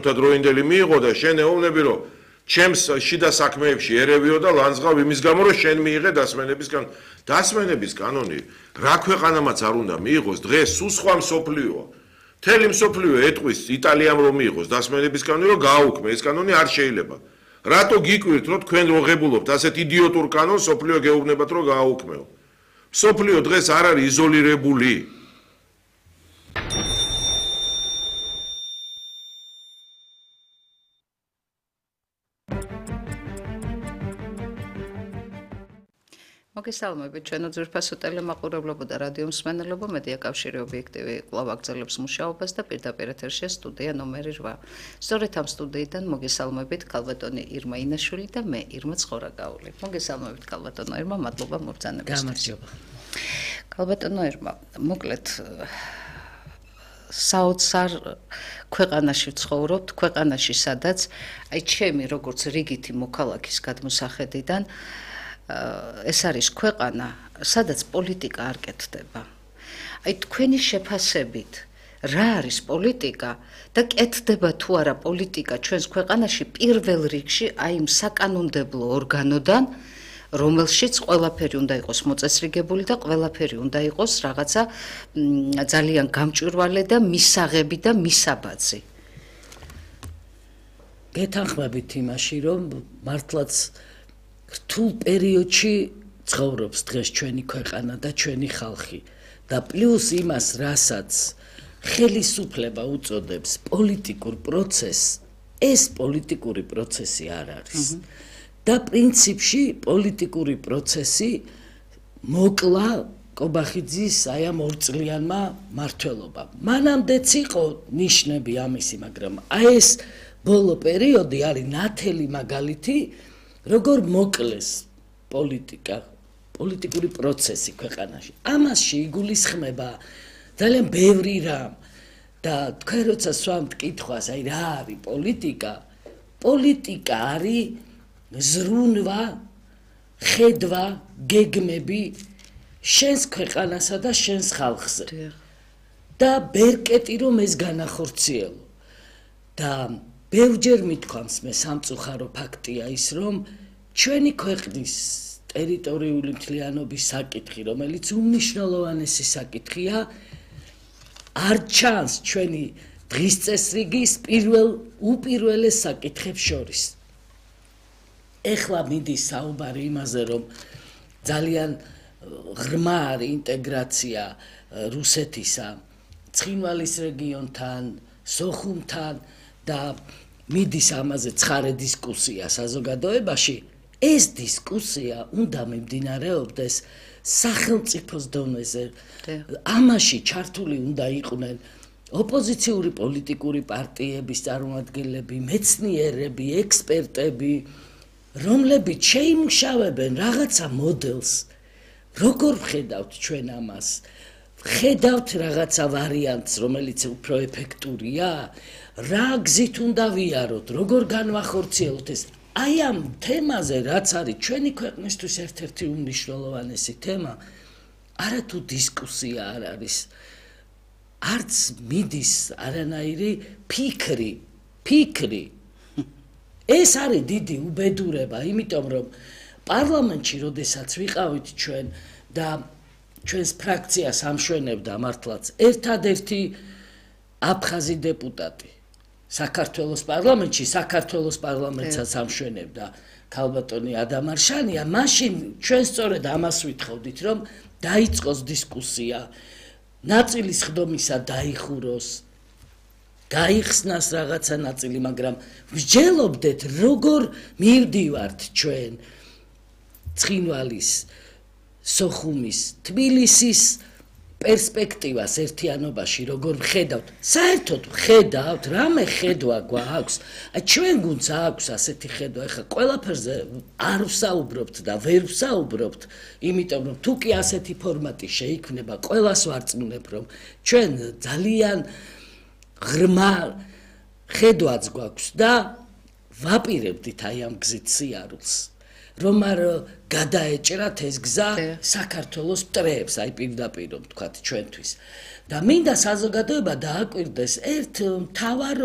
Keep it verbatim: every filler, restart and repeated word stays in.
დროინდელი მიიღო და შენ ეუბნები რომ ჩემს შიდა საქმეებში ერევიო და ლანძღავ იმის გამო რომ შენ მიიღე დასმენების კანონი. დასმენების კანონი რა ქვეყანამაც არ უნდა მიიღოს დღეს სულ სხვა მსოფლიოა. მთელი მსოფლიო ეტყვის იტალიამ რომ მიიღოს დასმენების კანონი რომ გააუქმე ეს კანონი არ შეიძლება. რატო გიკვირთ რომ თქვენ როღებულობთ ასეთ იდიოტურ კანონს მსოფლიო გეუბნებათ რომ გააუქმეო. მსოფლიო დღეს არ არის იზოლირებული. მოგესალმებით ჩვენო ძვირფასო ტელემაყურებლებო და რადიო მსმენელებო მედია კავშირი ობიექტივი კვლავ აგრძელებს მუშაობას და პირდაპირ ეთერშია სტუდია ნომერი რვა. სწორედ ამ სტუდიიდან მოგესალმებით ქალბატონი ირმა ინაშვილი და მე ირმა ცხორაკაული. მოგესალმებით ქალბატონო ირმა, მადლობა მობრძანებისთვის. გამარჯობა. ქალბატონო ირმა, მოკლედ საოცარ ქვეყანაში ვცხოვრობთ, ქვეყანაში სადაც აი ჩემი როგორც რიგითი მოქალაქის გადმოსახედიდან ეს არის ქვეყანა, სადაც პოლიტიკა არ კეთდება. აი თქვენი შეფასებით, რა არის პოლიტიკა და კეთდება თუ არა პოლიტიკა ჩვენს ქვეყანაში პირველ რიგში აი იმ საკანონმდებლო ორგანოდან, რომელშიც ყველაფერი უნდა იყოს მოწესრიგებული და ყველაფერი უნდა იყოს რაღაცა ძალიან გამჭვირვალე და მისაღები და მისაბაძი. გეთანხმებით იმაში, რომ მართლაც რთულ პერიოდში ცხოვრობს დღეს ჩვენი ქვეყანა და ჩვენი ხალხი და პლუს იმას, რასაც ხელისუფლება უწოდებს პოლიტიკურ პროცესს, ეს პოლიტიკური პროცესი არ არის. და პრინციპში პოლიტიკური პროცესი მოკლა კობახიძის აი ამ ორწლიანმა მმართველობამ. მანამდეც იყო ნიშნები ამისი, მაგრამ აი ეს ბოლო პერიოდი არის ნათელი მაგალითი როგორ მოკლეს პოლიტიკა, პოლიტიკური პროცესი ქვეყანაში. ამას შეიგულისხმება ძალიან ბევრი რამ და თქვენ როცა სვამთ კითხვას, აი რა არის პოლიტიკა? პოლიტიკა არის ზრუნვა, ხედვა, გეგმები შენს ქვეყანასა და შენს ხალხზე. და ბერკეტი რომ ეს განახორციელო. და ბევრჯერ მithქვამს მე სამწუხარო ფაქტია ის, რომ ჩვენი ქვეყნის ტერიტორიული მთლიანობის საკითხი, რომელიც უმნიშვნელოვანესი საკითხია, არ ჩანს ჩვენი დღის წესრიგის პირველ უპირველეს საკითხებს შორის. ეხლა მიდის საუბარი იმაზე, რომ ძალიან ღრმა არის ინტეგრაცია რუსეთისა, ცხინვალის რეგიონთან, სოხუმთან და მიდის ამაზე ცხარე დისკუსია საზოგადოებაში. ეს დისკუსია უნდა მიმდინარეობდეს სახელმწიფოს დონეზე. ამაში ჩართული უნდა იყვნენ ოპოზიციური პოლიტიკური პარტიების წარმომადგენლები, მეცნიერები, ექსპერტები, რომლებიც შეიმუშავებენ რაღაცა მოდელს. როგორ ვხედავთ ჩვენ ამას? ვხედავთ რაღაცა ვარიანტს, რომელიც უფრო ეფექტურია? რა გზით უნდა ვიაროთ, როგორ განვახორციელოთ ეს? აი ამ თემაზე, რაც არის ჩვენი ქვეყნისთვის ერთ-ერთი უმნიშვნელოვანესი თემა, არათუ დისკუსია არ არის. არც მიდის არანაირი ფიქრი, ფიქრი. ეს არის დიდი უბედურება, იმიტომ რომ პარლამენტში, როდესაც ვიყავით ჩვენ და ჩვენს ფრაქციას ამშვენებდა მართლაც ერთადერთი აფხაზი დეპუტატი საქართველოს პარლამენტში, საქართველოს პარლამენტსაც ამშვენებდა ქალბატონი ადამ არშანია, მაშინ ჩვენ სწორედ ამას ვითხოვდით, რომ დაიწყოს დისკუსია, ნაწილის ხდომისა დაიხუროს, გაიხსნას რაღაცა ნაწილი, მაგრამ ვსჯელობდეთ, როგორ მივდივართ ჩვენ ცხინვალის, სოხუმის, თბილისის პერსპექტივას ერთიანობაში, როგორ ვხედავთ. საერთოდ ვხედავთ, რამე ხედვა გვაქვს. აი ჩვენ გუნდს აქვს ასეთი ხედვა, ეხლა ყველაფერზე არ ვსაუბრობთ და ვერ ვსაუბრობთ, იმიტომ რომ თუ კი ასეთი ფორმატი შეიქმნება, ყველას ვარწმუნებ, რომ ჩვენ ძალიან ღრმა ხედვაც გვაქვს და ვაპირებდით აი ამ გზით სიარულს. რომ არ გადაეჭრათ ეს გზა საქართველოს მტრეებს, აი პირდაპირ რომ ვთქვათ ჩვენთვის. და მინდა საზოგადოება დააკვირდეს ერთ მთავარ